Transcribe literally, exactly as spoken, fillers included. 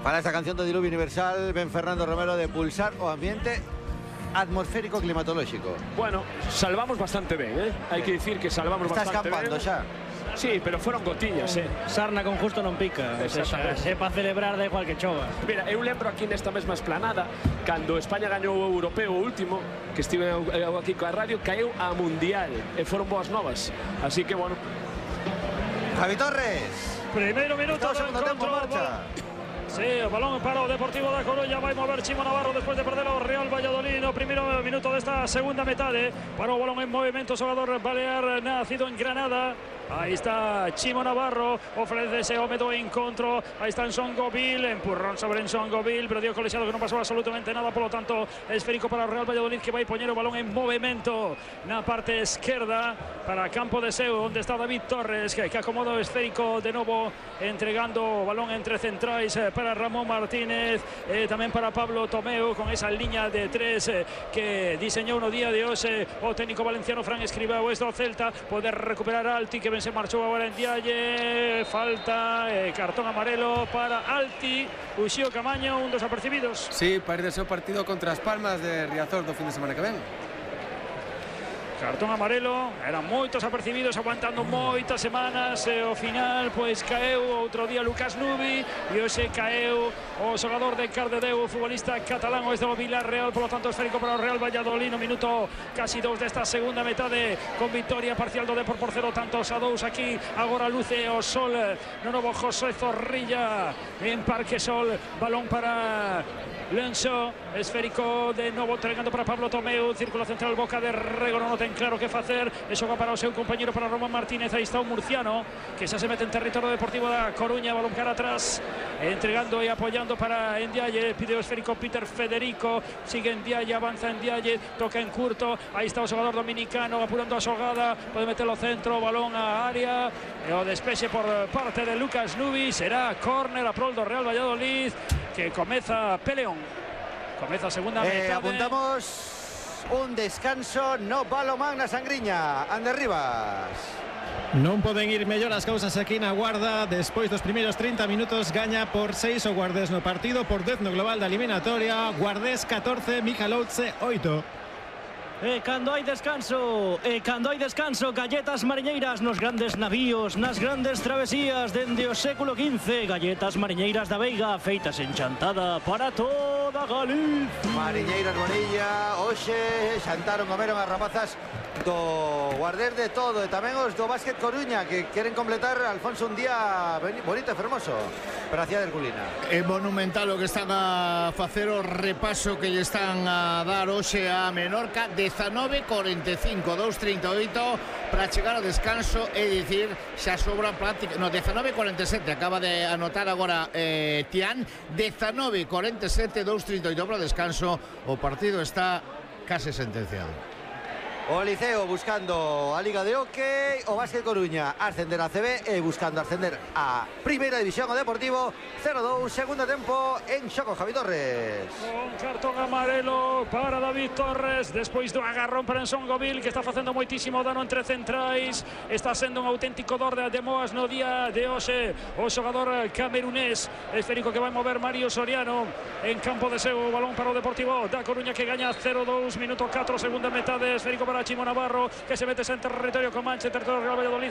Para esta canción do Diluvio Universal, ven Fernando Romero de Pulsar o ambiente atmosférico climatológico. Bueno, salvamos bastante ben, eh? Hai que dicir que salvamos Está bastante ben. Está escampando xa. Sí, pero foron gotiñas, eh? Sarna con justo non pica. O sea, é para celebrar da igual que chova. Mira, eu lembro aquí nesta mesma esplanada, cando España gañou o europeo o último, que estive aquí coa radio, caeu a Mundial, e foron boas novas. Así que, bueno. Javi Torres. Primeiro minuto do encontro. tempo, marcha. Sí, o balón para o Deportivo da Coruña, vai mover Chimo Navarro despois de perder o Real Valladolid no primeiro minuto desta segunda metade. Para o balón en movimento, xogador balear nacido en Granada. Aí está Chimo Navarro, ofrece o medo encontro, aí está Nsongovil, empurrón sobre Nsongovil, pero dio colexiado que non pasou absolutamente nada, polo tanto esférico para o Real Valladolid, que vai poñer o balón en movimento na parte esquerda para campo de seu, onde está David Torres, que, que acomoda o esférico de novo, entregando o balón entre centrais para Ramón Martínez, e tamén para Pablo Tomeu, con esa liña de tres eh, que diseñou no día de hoxe o técnico valenciano Fran Escribao. Este o Celta, poder recuperar Alti, que se marchou agora en Dialle, falta, eh, cartón amarelo para Alti. Uxío Camaño, un dos apercibidos. Sí, parece ser o partido contra as Palmas de Riazor do fin de semana que ven. Cartón amarelo, eran moitos apercibidos, aguantando moitas semanas, e ao final pois caeu outro día Lucas Nubi, e hoxe caeu o xogador de Cardedeu, o futbolista catalán, o este do Villarreal. Polo tanto esférico para o Real Valladolid no minuto casi dous desta segunda metade, con victoria parcial do Depor por cero tantos a dous aquí. Agora luce o sol no novo José Zorrilla en Parque Sol, balón para Lenso, esférico de novo entregando para Pablo Tomeu, círculo central, boca de Rego, non o ten claro que facer, e xoga para o seu compañero, para Román Martínez. Aí está o murciano, que xa se mete en territorio deportivo da Coruña, balón cara atrás, entregando e apoyando para Ndiaye, pide o esférico Peter Federico, sigue Ndiaye, avanza Ndiaye, toca en curto, aí está o xogador dominicano apurando a xogada, pode meter o centro, balón a área, e o despexe por parte de Lucas Nubi, será córner a prol do Real Valladolid, que comeza Peleón. Comeza a segunda eh, metade. Apuntamos un descanso no Balomán na Sangriña. Ander Rivas. Non poden ir mellor as cousas aquí na Guarda. Despois dos primeiros trinta minutos gaña por seis o Guardés no partido, por dez no global da eliminatoria. Guardés catorce, Michalovce oito. E cando hai descanso, e cando hai descanso, galletas mariñeiras nos grandes navíos, nas grandes travesías dende o século quince. Galletas mariñeiras da Veiga, feitas en Chantada para toda Galicia. Mariñeiras Bonilla, hoxe xantaron, comeron as rapazas do Guardés de todo, e tamén os do Básquet Coruña, que queren completar, Alfonso, un día bonito e fermoso para a cidade herculina. É monumental o que están a facer, o repaso que lle están a dar hoxe a Menorca. Dezanove cuarenta e cinco, dous trinta e oito para chegar ao descanso, é dicir, xa sobra práctica. No, dezanove cuarenta e sete, acaba de anotar agora eh, Tian. Dezanove cuarenta e sete, dous trinta e oito para o descanso. O partido está case sentenciado. O Liceo buscando a Liga de Hockey, o Básquet Coruña ascender a C B e buscando ascender a Primeira División o Deportivo. Cero dous, segundo tempo en xogo, Javi Torres. Con cartón amarelo para David Torres, despois do agarrón para Nsongovil, que está facendo moitísimo dano entre centrais. Está sendo un auténtico dor de Moas no día de hoxe. O xogador camerunés, esférico que vai mover Mario Soriano en campo de seu, balón para o Deportivo da Coruña, que gaña cero dous, minuto catro, segunda metade, esférico para Chimo Navarro, que se mete en territorio Comanche, territorio Real Valladolid.